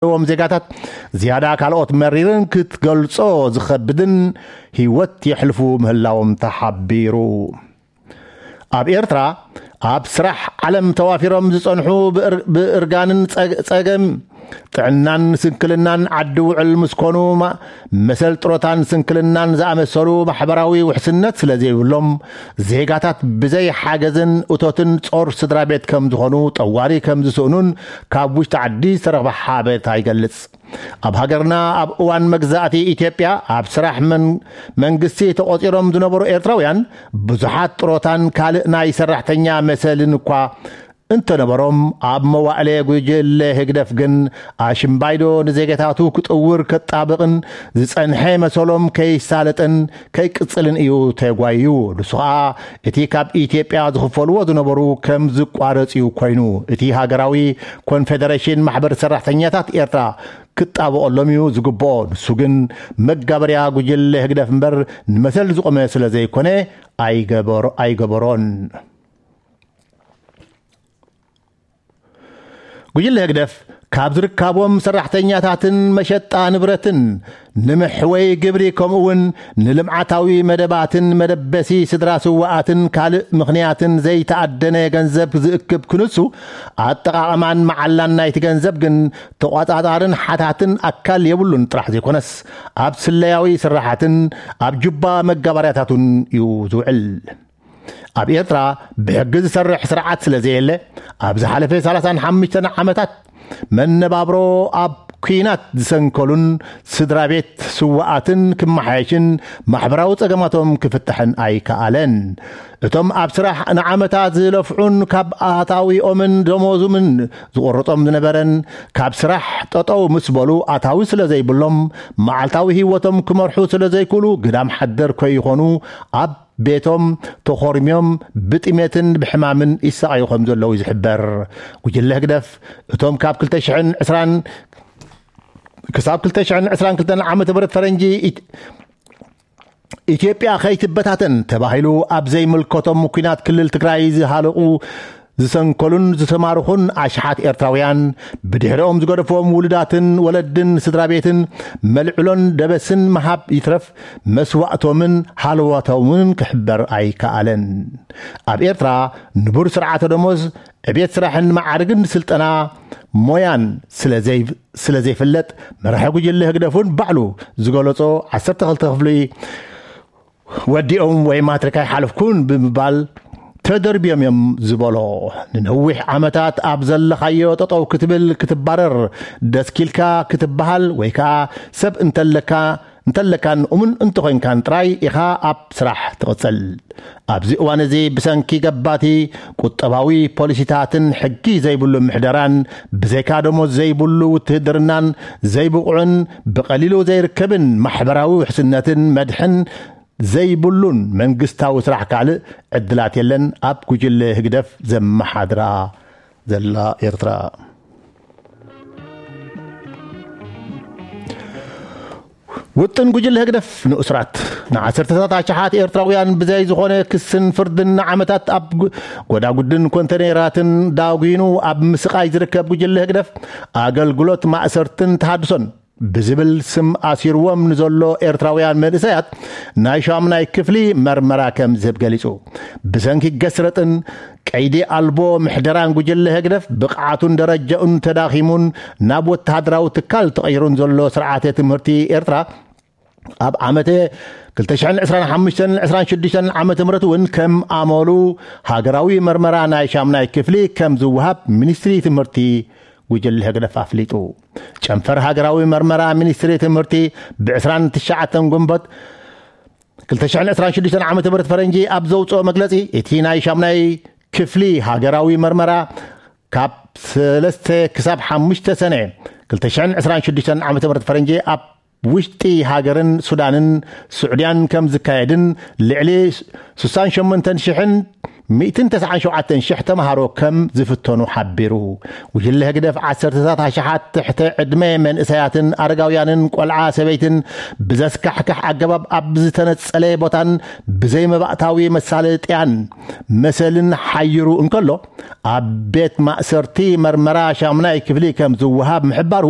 ዘለዎም ዜጋታት ዝያዳ ካልኦት መሪርን ክትገልጾ ዝኸብድን ህይወት የሕልፉ ምህላዎም ተሓቢሩ። ኣብ ኤርትራ ኣብ ስራሕ ዓለም ተዋፊሮም ዝጸንሑ ብእር- ብእርጋንን ጸግ- ጸገም ጥዕናን ስንክልናን ዓዲ ውዕል ምስ ኮኑ ማ- መሰል ጥሮታን ስንክልናን ዝኣመሰሉ ማሕበራዊ ውሕስነት ስለ ዘይብሎም ዜጋታት ብዘይ ሓገዝን እቶትን ጾር ስድራ ቤት ከም ዝኾኑ ጠዋሪ ከም ዝስእኑን ካብ ውሽጢ ዓዲ ዝተረኽበ ሓበሬታ ይገልጽ። ኣብ ሃገርና ኣብ እዋን መግዛእቲ ኢትዮጵያ ኣብ ስራሕ መን- መንግስቲ ተቖጺሮም ዝነበሩ ኤርትራውያን ብዙሓት ጥሮታን ካልእ ናይ ሰራሕተኛ መሰልን እኳ እንተነበሮም ኣብ መዋእለ ጉጅለ ህግደፍ ግን ኣሽምባይዶ ንዜጋታቱ ክጥውር ከጣብቕን ዝጸንሐ መሰሎም ከይሳለጥን ከይቅጽልን እዩ ተጓዩ። ንሱ ኸኣ እቲ ካብ ኢትዮጵያ ዝኽፈልዎ ዝነበሩ ከም ዝቋረጽ እዩ ኮይኑ። እቲ ሃገራዊ ኮንፌደሬሽን ማሕበር ሰራሕተኛታት ኤርትራ ክጣበቐሎም እዩ ዝግብኦ። ንሱ ግን መጋበርያ ጉጅለ ህግደፍ እምበር ንመሰል ዝቖመ ስለ ዘይኮነ ኣይገበሮ- ኣይገበሮን። ጉጅለ ህግደፍ ካብ ዝርካቦም ሰራሕተኛታትን መሸጣ ንብረትን ንምሕወይ ግብሪ ከምኡውን ንልምዓታዊ መደባትን መደበሲ ስድራ ስዋኣትን ካልእ ምኽንያትን ዘይተኣደነ ገንዘብ ዝእክብ ክንሱ ኣጠቓቕማን መዓላን ናይቲ ገንዘብ ግን ተቋጻጻርን ሓታትን ኣካል የብሉን ጥራሕ ዘይኮነስ ኣብ ስለያዊ ስራሓትን ኣብ ጁባ መጋባርያታቱን እዩ ዝውዕል። ኣብ ኤርትራ ብሕጊ ዝሰርሕ ስርዓት ስለ ዘየለ ኣብ ዝሓለፈ ሰላሳን ሓሙሽተን ዓመታት መነባብሮ ኣብ ኲናት ዝሰንከሉን ስድራ ቤት ስዋኣትን ክመሓየሽን ማሕበራዊ ጸገማቶም ክፍታሕን ኣይከኣለን። እቶም ኣብ ስራሕ ንዓመታት ዝለፍዑን ካብ ኣታዊኦምን ደሞዙምን ዝቆርጾም ዝነበረን ካብ ስራሕ ጠጠው ምስ በሉ ኣታዊ ስለ ዘይብሎም መዓልታዊ ህይወቶም ክመርሑ ስለ ዘይክእሉ ግዳም ሓደር ከይኾኑ ኣብ ቤቶም ተኾርምዮም ብጥሜትን ብሕማምን ይሳቐዩ ከም ዘለዉ እዩ ዝሕበር። ጉጅለ ህግደፍ እቶም ካብ ክልተ ሽሕን ዕስራን ክሳብ ክልተ ሽሕን ዕስራን ክልተን ዓመተ ምህረት ፈረንጂ ኢት- ኢትዮጵያ ከይትበታተን ተባሂሉ ኣብ ዘይምልከቶም ኩናት ክልል ትግራይ ዝሃለቑ ዝሰንከሉን ዝተማርኹን ኣሽሓት ኤርትራውያን ብድሕሪኦም ዝገደፎም ውሉዳትን ወለድን ስድራ ቤትን መልዕሎን ደበስን ምሃብ ይትረፍ መስዋእቶምን ሃለዋቶምን ክሕበር ኣይከኣለን። ኣብ ኤርትራ ንቡር ስርዓተ ደሞዝ ዕቤት ስራሕን መዓርግን ስልጠና ሞያን ስለ ዘይፍለጥ መራሒ ጉጅለ ህግደፍ እውን ባዕሉ ዝገለጾ ዓሰርተ ክልተ ክፍሊ ወዲኦም ወይ ማትሪክ ኣይሓለፍኩን ብምባል ተደርብዮም እዮም ዝበሎ። ንነዊሕ ዓመታት ኣብ ዘለኻዮ ጠጠው ክትብል ክትባረር ደስኪልካ ክትበሃል ወይ ከዓ ሰብ እንተለካ እንተለካን እሙን እንተኾይንካን ጥራይ ኢኻ ኣብ ስራሕ ትቕጽል። ኣብዚ እዋን እዚ ብሰንኪ ገባቲ ቁጠባዊ ፖሊሲታትን ሕጊ ዘይብሉ ምሕደራን ብዘይካ ደሞዝ ዘይብሉ ውትህድርናን ዘይብቑዕን ብቐሊሉ ዘይርከብን ማሕበራዊ ውሕስነትን መድሕን ዘይብሉን መንግስታዊ ስራሕ ካልእ ዕድላት የለን ኣብ ጉጅለ ህግደፍ ዘመሓድራ ዘላ ኤርትራ። ውጥን ጉጅለ ህግደፍ ንእስራት ንዓሰርተታት ኣሽሓት ኤርትራውያን ብዘይ ዝኾነ ክስን ፍርድን ንዓመታት ኣብ ጎዳጉድን ኮንተኔራትን ዳጒኑ ኣብ ምስቓይ ዝርከብ ጉጅለ ህግደፍ ኣገልግሎት ማእሰርትን ተሃድሶን ብዝብል ስም ኣሲርዎም ንዘሎ ኤርትራውያን መንእሰያት ናይ ሻምናይ ክፍሊ መርመራ ከም ዝህብ ገሊጹ። ብሰንኪ ገስረጥን ቀይዲ ኣልቦ ምሕደራን ጉጅለ ህግደፍ ብቕዓቱን ደረጃኡን ተዳኺሙን ናብ ወተሃደራዊ ትካል ተቐይሩን ዘሎ ስርዓተ ትምህርቲ ኤርትራ ኣብ ዓመተ ክልተ ሽሕን ዕስራን ሓሙሽተን ዕስራን ሽዱሽተን ዓመተ ምህረት እውን ከም ኣመሉ ሃገራዊ መርመራ ናይ ሻምናይ ክፍሊ ከም ዝወሃብ ሚኒስትሪ ትምህርቲ ጉጅለ ህግደፍ ኣፍሊጡ። ጨንፈር ሃገራዊ መርመራ ሚኒስትሪ ትምህርቲ ብ ዕስራን ትሽዓተን ግንቦት ክልተ ሽሕን ዕስራን ሽዱሽተን ዓመተ ምህረት ፈረንጂ ኣብ ዘውፅኦ መግለፂ እቲ ናይ ሻምናይ ክፍሊ ሃገራዊ መርመራ ካብ ሰለስተ ክሳብ ሓሙሽተ ሰነ ክልተ ሽሕን ዕስራን ሽዱሽተን ዓመተ ምህረት ፈረንጂ ኣብ ውሽጢ ሃገርን ሱዳንን ስዑድያን ከም ዝካየድን ልዕሊ ስሳን ሸሞንተን ሽሕን ሚእትን ተስዓን ሸውዓተን ሽሕ ተምሃሮ ከም ዝፍተኑ ሓቢሩ። ጉጅለ ህግደፍ ዓሰርተታት ኣሽሓት ትሕተ ዕድመ መንእሰያትን ኣረጋውያንን ቆልዓ ሰበይትን ብዘስካሕክሕ ኣገባብ ኣብ ዝተነጸለ ቦታን ብዘይ መባእታዊ መሳለጥያን መሰልን ሓይሩ እንከሎ ኣብ ቤት ማእሰርቲ መርመራ ሻምናይ ክፍሊ ከም ዝወሃብ ምሕባሩ